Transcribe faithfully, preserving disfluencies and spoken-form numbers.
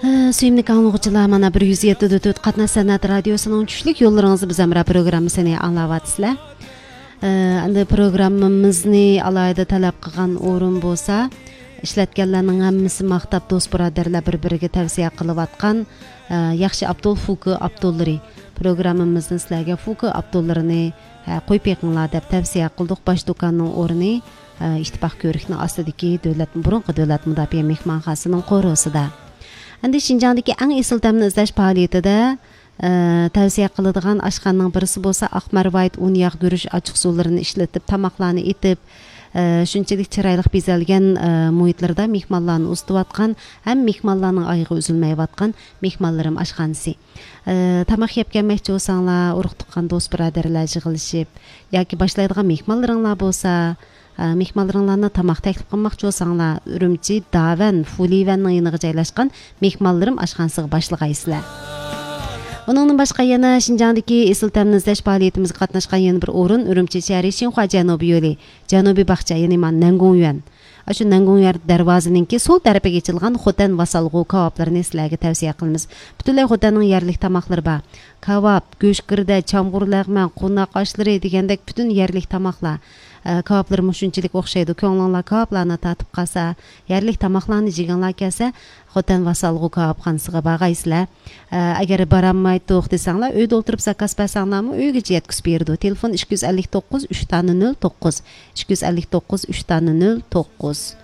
سۆيۈملۈك ئاڭلىغۇچىلار، مانا بىر يۈز يەتتە دۆتۆت قاتناش سەنئەت رادىيوسىنىڭ چۈشلۈك يوللىرىڭىز بىز ھەمراھ پروگراممىسىنى ئاڭلاۋاتىسىلەر. ئە، ئەمدى پروگراممىمىزنى ئالاھىدە تەلەپ قىلغان ئورۇن بولسا، ئىشلەتكەنلەرنىڭ ھەممىسى ماختاپ، دوست بۇرادەرلەر بىر بىرىگە تەۋسىيە قىلىۋاتقان، ئە، ياخشى ئاپتول فۇكى ئاپتوللىرى. پروگراممىمىزنى سىلەرگە فۇكى ئاپتوللىرىنى، ئە، قويۇپ بېقىڭلار دەپ تەۋسىيە قىلدۇق. باش دۇكاننىڭ ئورنى، ئە، ئىتتىپاق كۆۋرۈكنىڭ ئاستىدىكى دۆلەت، بۇرۇنقى دۆلەت مۇداپىئە مېھمانخانىسىنىڭ قورۇسىدا. ئەمدى شىنجاڭدىكى ئەڭ ئېسىل تەمنى ئىزدەش پائالىيىتىدە، ئە، تەۋسىيە قىلىدىغان ئاشخانىنىڭ بىرسى بولسا ئاق مەرۋايىت، ئۇن، ياغ، گۈرۈچ، ئاچچىقسۇلىرىنى ئىشلىتىپ، تاماقلارنى ئېتىپ، ئە، شۇنچىلىك چىرايلىق بېزەلگەن، ئە، مۇھىتلىرىدا مېھمانلارنى ئۇزىتىۋاتقان ھەم مېھمانلارنىڭ ئايىغى ئۈزۈلمەيۋاتقان مېھمانلىرىم ئاشخانىسى. ئە، تاماق يەپ كەلمەكچى بولساڭلار، ئۇرۇق تۇغقان، دوست بۇرادەرلەر يىغىلىشىپ ياكى باشلايدىغان مېھمانلىرىڭلار بولسا، ئە، مېھمانلىرىڭلارنى تاماق تەكلىپ قىلماقچى بولساڭلار، ئۈرۈمچى داۋەن فۇلىۋەننىڭ يېنىغا جايلاشقان مېھمانلىرىم ئاشخانىسىغا باشلىغايسىلەر. ئۇنىڭدىن باشقا يەنە شىنجاڭدىكى ئېسىل تەمنى ئىزدەش پائالىيىتىمىزگە قاتناشقان يەنە بىر ئورۇن ئۈرۈمچى شەھىرى شىنخۇا جەنۇبىي يولى، جەنۇبىي باغچە، يەنى مانا نەنگۇڭيۈەن. ئاشۇ نەنگۇڭيۈەن دەرۋازىنىڭكى سول تەرىپىگە ئېچىلغان خوتەن ۋاسالغۇ كاۋاپلىرىنى سىلەرگە تەۋسىيە قىلىمىز. پۈتۈنلەي خوتەننىڭ يەرلىك تاماقلىرى بار. كاۋاپ، گۆش گىردە، چامغۇر لەغمەن، قوناق ئاشلىرى دېگەندەك پۈتۈن يەرلىك تاماقلار. ئە، كاۋاپلىرىمۇ شۇنچىلىك ئوخشايدۇ. كۆڭلۈڭلار كاۋاپلارنى تارتىپ قالسا، يەرلىك تاماقلارنى جېگىڭلار كەلسە، خوتەن ۋاسالغۇ كاۋاپخانىسىغا بارغايسىلەر. ئە، ئەگەر بارالمايتتۇق دېسەڭلار، ئۆيدە ئولتۇرۇپ زاكاز بەرسەڭلارمۇ ئۆيگىچە يەتكۈزۈپ بېرىدۇ. تېلېفون ئىككى يۈز ئەللىك توققۇز، ئۈچ تانە نۆل توققۇز، ئىككى يۈز ئەللىك توققۇز، ئۈچ تانە نۆل توققۇز.